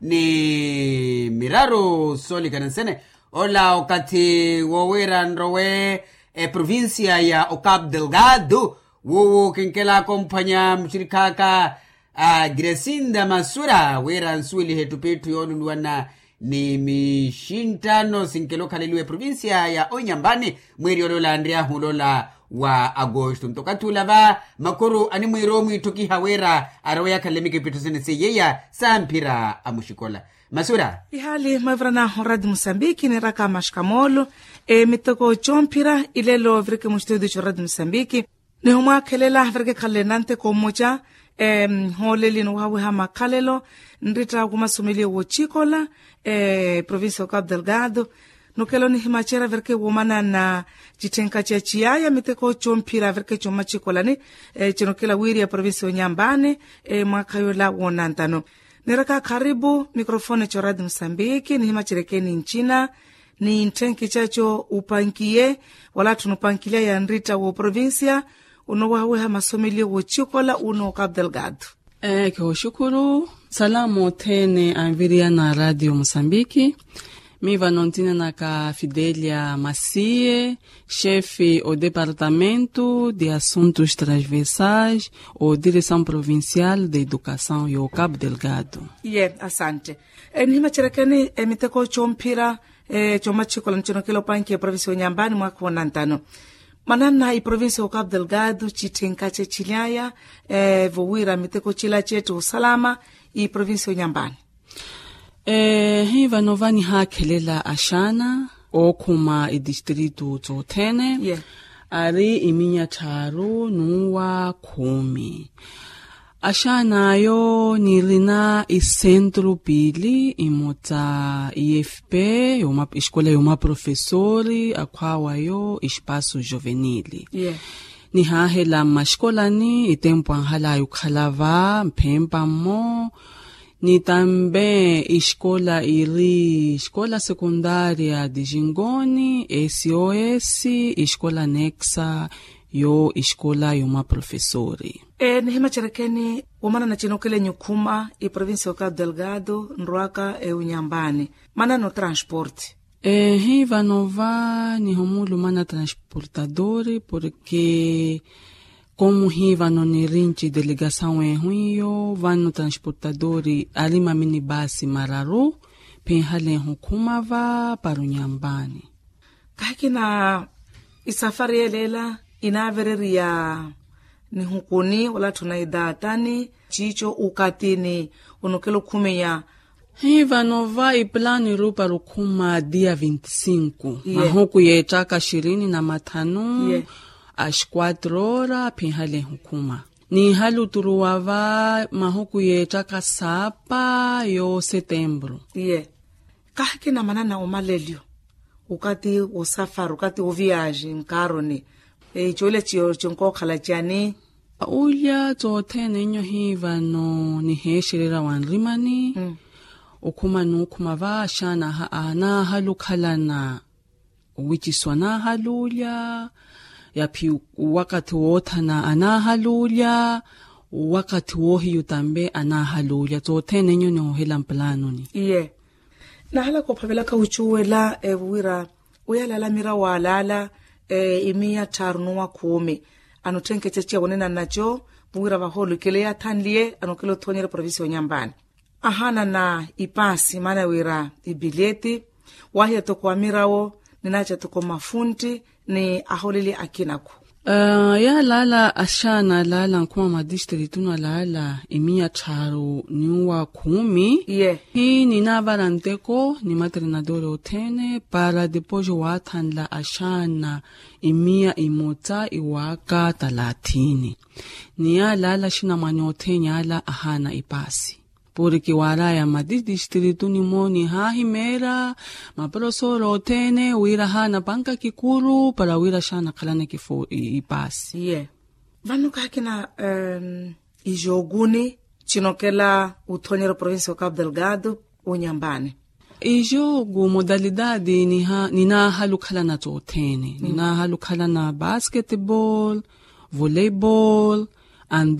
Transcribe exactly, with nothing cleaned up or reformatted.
ni miraru soolikana nsene. Ola okathi wowira nrowe eprovincia ya ocapo delgado, wowo kinkelaka omphwanya muxirikhaka a gresinda masura wira nsuwelihe ettupittu yooluluwana ni mixinttano sinkela okhaleliwa eprovincia ya onyambani. Mwiiri oloola anriy'ahu oloola wa agosto nto okathi ula va makuru animwiira omwiitthukiha wira arowe yakhalele mikipitho sene seiyeya samphira amuxikola. Masura. Ihaali mwavirana oradi musambiki niiraka maxikamoolo emiteko comphira ilelo vireke muxitudio coradi musambiki. Nihumwaakhelela vireke khalele nanteko mmoca hooleli nowahawiha makhalelo nritta kumasomeliye wochikola provincia ocapo delgado. Nukela onihimacerya vireke womanana citthenka caciyaya miteko comphira vireke commacikolani cinukela wiiriya provincia onyambani mwaakha yola woonantano. Niiraka kharipu mikrofone coradi musambiki nihimaceryeke ni ncina ni ntthenki caco upankiye wala atthu nupankilya ya nritta wooprovincia unowahawiha masomeliye wochikola uno ocapo delgado. Eeke oxukuru. Salamu othene anviriyana radio musambiki. Miivano ntinanaka fidelia masiye, xefe odepartamento de assuntos transversais o direção provincial de educação yo capo delgado. Iye asante. Nihimacerekeni emiteko comphira comachikola ncinokela opankiya eprovincia onyambani mwakha onantano. Manana iprovincia ocapo delgado citthenka cecilaya vowira miteko cila cetti osalama iprovincia onyambani. Ehi vano vanihaakhelela axaana ookhuma itistritu toothene ari iminya tthaaru n'uwa khumi. Axaan'ayo nirina isentru piili imota ifp, escola y'omaprofesori akhwaawayo espaso jovenili. Nihaahela mmaxikolani itempu anhalaya okhala va mphempa mmo. Ni tambe escola iri escola sekundaria dijingoni sos escola nexa yo escola y'omaprofesori. Nihimacerekeni womanana cinokela enyu khuma iprovincia ocapo delgado nrwaka eunyambani manana otransporte. Ehi vano va nihomuulumana transportadori porke komuhi vano nirinci delegasawu ehu iyo vano transportadori ari maminibasi mararu phinhalehu khuma va para onyambani. Kahikina isafari yeleela inaavereriya nihukuni wala atthu na idaatani ciico ukatini onokela okhumiya. Hi vano va ipulani rupa rukhuma dia vinti sinku mahuku yeettaka xirini na mathanu a xikuatru ora phinhalehu khuma. Niihaluturuwa va mahuku yeettaka saapa yo setembru. Iye. Kahikina manana omalelyo okati wosafari okati woviyaji nkaaroni. Icoolya ciyo cinkookhala cani? Ulya toothene nyo hi vano niheexererya wa nrimani. Okhuma n'ukhuma va axaana anaahala okhalana owiciswa anaahala ulya. Yaphi wakathi woothana anaahala ulya. Wakathi woohiyu tambe anaahala ulya toothene nyo nihoohela mpulanoni. Iye. Nahalaka ophavelaka ocuwela wira oyalaala mirawo alaala imiya tthaaru n'uwa khuumi. Anotthenkeca ciya wonenana naco wira vahoolukele yaathanliye anokela othoonyerya provincia onyambani. Ahaanana ipaasi maana wira ipilyeti waahiya toko amirawo ninaaca toko mafuntti ni ahooleli akina-khu. Yaalaala axaana alaala nkhuma mwa tistritunu alaala imiya tthaaru n'uwa khuumi. Iye. Hi ninaavara nteko ni matrenadori othene para depois waathanla axaana imiya imota iwaaka talathini. Ni yaalaala axinamwane othene ala ahaana ipaasi. Porke waaraya mati tistrituni-mo nihaahimeerya maprofesori othene wira ahaana panka kikuru para wira axaana akhalane kifu ipaasi. Iye. Vano kahikina ijookuni cinokela othoonyerya oprovincia ocapo delgado onyambani. Ijooku modalidadi ninaahala okhalana toothene ninaahala okhalana basketball, volleyball, ande